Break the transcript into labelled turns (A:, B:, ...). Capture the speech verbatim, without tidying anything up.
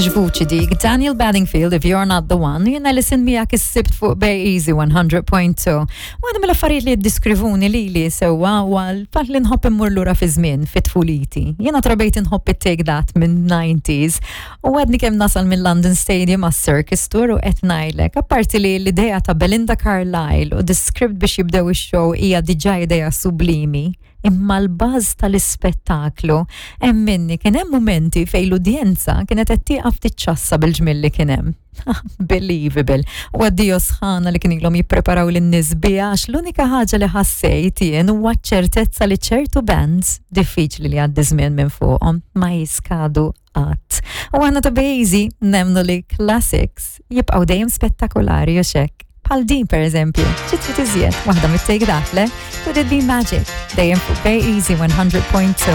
A: X'vuċi dik, Daniel Bedingfield, "If You're Not The One", jiena Alison miegħek is-Sibt fuq Bay Easy one hundred point two. Waħda mill-affarijiet li jiddiskrivuni li li sewwa huwa l-fatt li nħobb immur lura fi żmien fi tfuliti. Jiena trabejt inħobb it-Take That minn nineties u għadni kemm nasal minn London Stadium għas Circus Tour u qed ngħidlek, apparti li l-idea ta' Belinda Carlisle u the script biex jibdew ix-show hija diġà idea sublimi, imma l-baż tal-ispettaklu hemm minni kien hemm momenti fejn l-udjenza kienet qed tieqaf tiċċassa bil-ġmiel li kien hemm. Unbelievable. U għaddio sħana li kien ilhom jippreparaw lin-nies biha, għax l-unika ħaġa li ħassejt jien huwa ċertezza li ċertu bands diffiċli li għaddi żmien minn fuqhom, ma jiskadu qatt. U aħna ta' Bejzi nemmnu li classics jibqgħu dejjem spettakolari u xek. Bħal din per eżempju, xi trid iżjed, waħda mit-Take That, le? "Could It Be Magic", dejjem fuq Bay Easy one hundred point two.